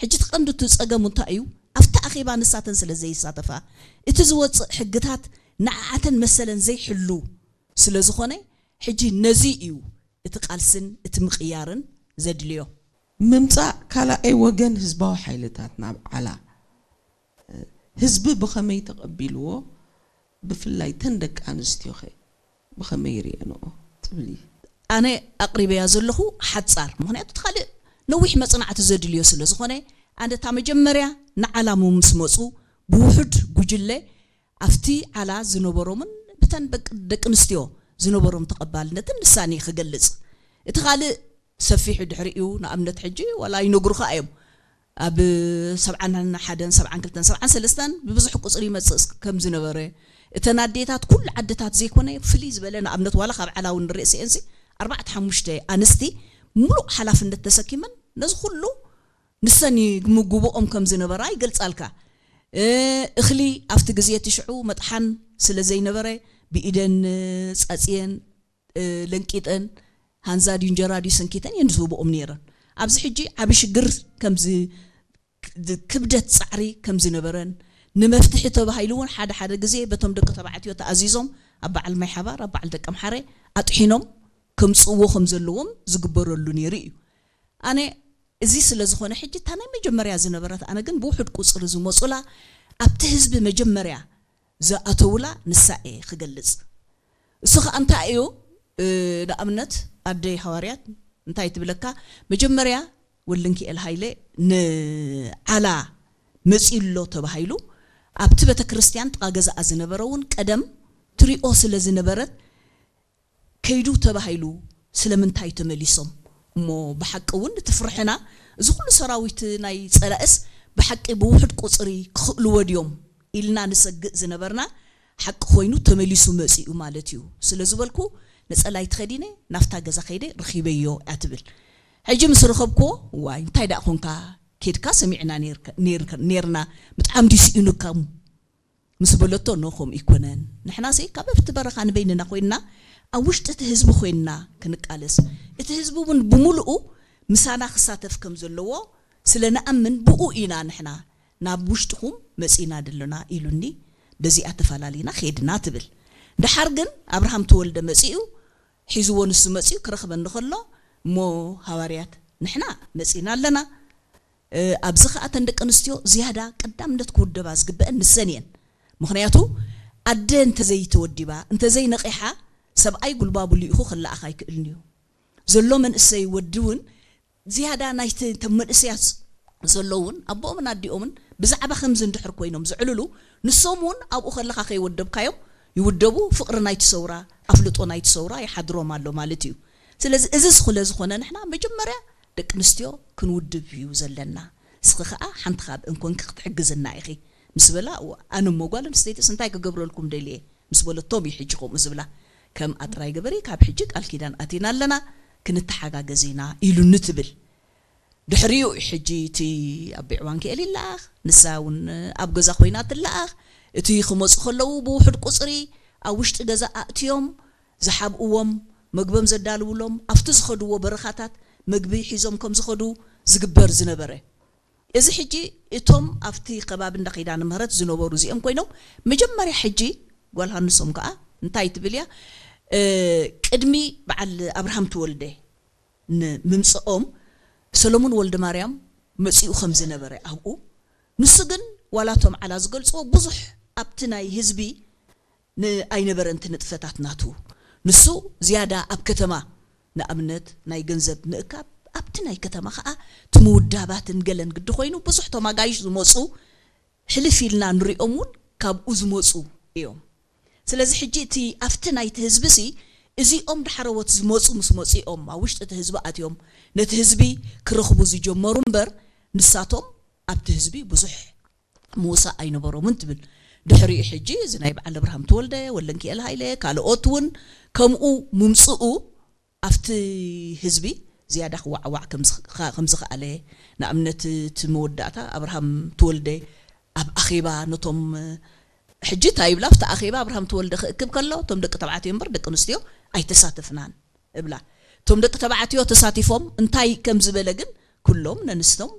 ሕጂ እቲ ቀንዲ እቲ ጸገሙ እንታይ እዩ? ኣብቲ ኣኼባ ንሳተን ስለ ዘይሳተፋ፣ እቲ ዝወጽእ ሕግታት ንዓኣተን መሰለን ዘይሕሉ ስለ ዝኾነ፣ ሕጂ ነዚ እዩ እቲ ቃልስን እቲ ምቕያርን ዘድልዮ። ምምጻእ ካልኣይ ወገን ህዝባዊ ሓይልታት ናብ ዓላ ህዝቢ ብኸመይ ተቐቢልዎ? ብፍላይ ተን ደቂ ኣንስትዮኸ ብኸመይ ይርእየንኦ ትብሊ? ኣነ ኣቕሪበያ ዘለኹ ሓጻር፣ ምኽንያቱ እቲ ካልእ ነዊሕ መጽናዕቲ ዘድልዮ ስለ ዝኾነ፣ ኣነ እታ መጀመርያ ንዓላሙ ምስ መጹ ብውሑድ ጉጅለ ኣብቲ ዓላ ዝነበሮምን ብተን ደቂ ደቂ ኣንስትዮ ዝነበሮም ተቐባልነትን ንሳን እየ ክገልጽ። እቲ ካልእ ሰፊሑ ድሕሪኡ፣ ንኣብነት ሕጂ ዋላ ይነግሩኻ እዮም። ኣብ ሰብዓን ሓደን፣ ሰብዓን ክልተን፣ ሰብዓን ሰለስተን ብብዙሕ ቁጽሪ ይመጽእ ከም ዝነበረ፣ እተን ኣዴታት ኩሉ ዓድታት ዘይኮነ ፍልይ ዝበለ ንኣብነት ዋላ ካብ ዓላ እውን ንርኢ ሲኤንሲ ኣርባዕተ ሓሙሽተ ኣንስቲ ሙሉእ ሓላፍነት ተሰኪመን ነዚ ኩሉ ንሰን ይምግብኦም ከም ዝነበራ ይገልጻልካ። እ፣ እኽሊ ኣብቲ ግዜ እቲ ሽዑ መጥሓን ስለ ዘይነበረ ብኢደን ጻጽየን፣ እ፣ ለንቂጠን፣ ሃንዛ ድዩ እንጀራ ድዩ ሰንኪተን እየን ዝህብኦም ነይረን። ኣብዚ ሕጂ ዓቢ ሽግር ከምዚ፣ ክብደት ጻዕሪ ከም ዝነበረን ንመፍትሒ ተባሂሉ እውን ሓደ ሓደ ግዜ በቶም ደቂ ተባዕትዮ ተኣዚዞም ኣብ በዓል ማይ ሓባር፣ ኣብ በዓል ደቀምሓረ ኣጥሒኖም ከምጽእዎ ከም ዘለዎም ዝግበረሉ ነይሩ እዩ። ኣነ እዚ ስለ ዝኾነ ሕጂ እታ ናይ መጀመርያ ዝነበረት ኣነ ግን ብውሑድ ቁጽሪ ዝመጹላ ኣብቲ ህዝቢ መጀመርያ ዝኣተውላ ንሳ እየ ክገልጽ። እሱ ኸኣ እንታይ እዩ? እ፣ ንኣብነት ኣደይ ሃዋርያት እንታይ ትብለካ? መጀመርያ ወልደንኪኤል ሃይለ ንዓላ መጺኡ ኣሎ ተባሂሉ ኣብቲ ቤተ ክርስቲያን ጥቓ ገዛኣ ዝነበረ እውን ቀደም ትሪኦ ስለ ዝነበረት ከይዱ ተባሂሉ ስለምንታይ ተመሊሶም? እሞ ብሓቂ እውን እቲ ፍርሕና፣ እዚ ኩሉ ሰራዊት ናይ ጸላእስ ብሓቂ ብውሑድ ቁጽሪ ክኽእልዎ ድዮም ኢልና ንሰግእ ዝነበርና ሓቂ ኮይኑ ተመሊሱ መጺኡ ማለት እዩ ስለ ዝበልኩ፣ ነጸላይ ተኸዲነ ናብታ ገዛ ከይደ ረኺበዮ እያ ትብል። ሕጂ ምስ ረኸብክዎ፣ ዋይ እንታይ ደኣ ኾንካ? ኬድካ ሰሚዕና ኔርካ-፣ ኔርካ-፣ ኔርና፣ ብጣዕሚ ድዩ ስኢኑካ? ምስ በለቶ፣ ኖ፣ ከምኡ ኣይኮነን። ንሕናሲ ካብ ኣብቲ በረኻ ንበይንና ኮይንና፣ ኣብ ውሽጢ እቲ ህዝቢ ኮይንና ክንቃለስ፣ እቲ ህዝቢ እውን ብምሉኡ ምሳና ክሳተፍ ከም ዘለዎ ስለ ንኣምን፣ ብኡ ኢና ንሕና ናብ ውሽጥኹም መጺእና ደለና ኢሉኒ። በዚኣ ተፈላሊና ኸድና ትብል። ደሓር ግን ኣብርሃም ተወልደ መጺኡ፣ ሒዝዎ ንሱ መጺኡ ክረኽበኒ ከሎ፣ እሞ ሃዋርያት ንሕና መጺእና ኣለና። እ፣ ኣብዚ ኸኣ እተን ደቂ ኣንስትዮ ዝያዳ ቀዳምነት ክውደባ ዝግበአን ንሰን እየን። ምኽንያቱ ኣደ እንተዘይተወዲባ፣ እንተዘይነቒሓ፣ ሰብኣይ ጉልባቡ ልኢኹ ክለኣኽ ኣይክእልን እዩ። ዘሎ መንእሰይ ወዲ እውን ዝያዳ ናይቲ እቶም መንእሰያት ዘለውን ኣቦኦምን ኣዲኦምን ብዛዕባ ከምዚ እንድሕር ኮይኖም ዝዕልሉ፣ ንሶም እውን ኣብኡ ከለኻ ከይወደብካዮም ይውደቡ፣ ፍቕሪ ናይቲ ሰውራ፣ ኣፍልጦ ናይቲ ሰውራ ይሓድሮም ኣሎ ማለት እዩ። ስለዚ እዚ ስለ ዝኾነ ንሕና መጀመርያ ደቂ ኣንስትዮ ክንውድብ እዩ ዘለና። እስኺ ኸኣ ሓንቲ ካብአን ኮንኪ ክትሕግዝና ኢኺ ምስ በላ፣ እዋ፣ ኣነ እሞ ጓል ኣንስተይትስ እንታይ ክገብረልኩም ደልየ ምስ በለቶም እዩ ሕጂ ከምኡ ዝብላ። ከም ኣጥራይ ገበሪ ካብ ሕጂ ቃል ኪዳን ኣቲና ኣለና፣ ክንተሓጋገዝ ኢና ኢሉኒ ትብል። ድሕሪኡ እዩ ሕጂ እቲ ኣቢ ዕዋንክኤል ይለኣኽ፣ ንሳ እውን ኣብ ገዛ ኮይና ትለኣኽ። እቲ ክመጹ ከለዉ ብውሑድ ቁጽሪ ኣብ ውሽጢ ገዛ ኣእትዮም ዝሓብእዎም፣ መግቦም ዘዳልውሎም፣ ኣብቲ ዝኸድዎ በረኻታት መግቢ ሒዞም ከም ዝኸዱ ዝግበር ዝነበረ። እዚ ሕጂ እቶም ኣብቲ ከባቢ እንዳ ኪዳነ ምህረት ዝነበሩ እዚኦም ኮይኖም፣ መጀመርያ ሕጂ ጓል ሃንሶም ከኣ እንታይ ትብል እያ? እ፣ ቅድሚ በዓል ኣብርሃም ተወልደ ንምምጽኦም ሰሎሞን ወልደማርያም መጺኡ ከም ዝነበረ ኣብኡ፣ ንሱ ግን ዋላ እቶም ዓላ ዝገልጽዎ ብዙሕ ኣብቲ ናይ ህዝቢ ን-፣ ኣይነበረን እቲ ንጥፈታት ናቱ። ንሱ ዝያዳ ኣብ ከተማ ንኣብነት ናይ ገንዘብ ምእካብ ኣብቲ ናይ ከተማ ኸኣ እቲ ምውዳባትን ገለን ግዲ ኮይኑ ብዙሕ እቶም ኣጋይሽ ዝመጹ ሕልፍ ኢልና ንሪኦም እውን ካብኡ ዝመጹ እዮም። ስለዚ ሕጂ እቲ ኣብቲ ናይቲ ህዝቢ ሲ እዚኦም ዳሕረዎት ዝመጹ ምስ መጺኦም ኣብ ውሽጢ እቲ ህዝቢ ኣትዮም ነቲ ህዝቢ ክረኽቡ ዝጀመሩ እምበር ንሳቶም ኣብቲ ህዝቢ ብዙሕ ምውሳእ ኣይነበሮምን ትብል። ድሕሪኡ ሕጂ እዚ ናይ በዓል ኣብርሃም ተወልደ፣ ወልደንኪኤል ሃይለ፣ ካልኦት እውን ከምኡ ምምጽኡ ኣብቲ ህዝቢ ዝያዳ ክዋዕዋዕ ከም ዝኽ-፣ ከም ዝኸኣለ፣ ንኣብነት እቲ መወዳእታ ኣብርሃም ተወልደ ኣብ ኣኼባ ነቶም፣ ሕጂ እንታይ ይብላ ኣብቲ ኣኼባ ኣብርሃም ተወልደ ክእክብ ከሎ እቶም ደቂ ተባዕትዮ እምበር ደቂ ኣንስትዮ ኣይተሳተፍናን እብላ። እቶም ደቂ ተባዕትዮ ተሳቲፎም እንታይ ከም ዝበለ ግን ኩሎም ነንስቶም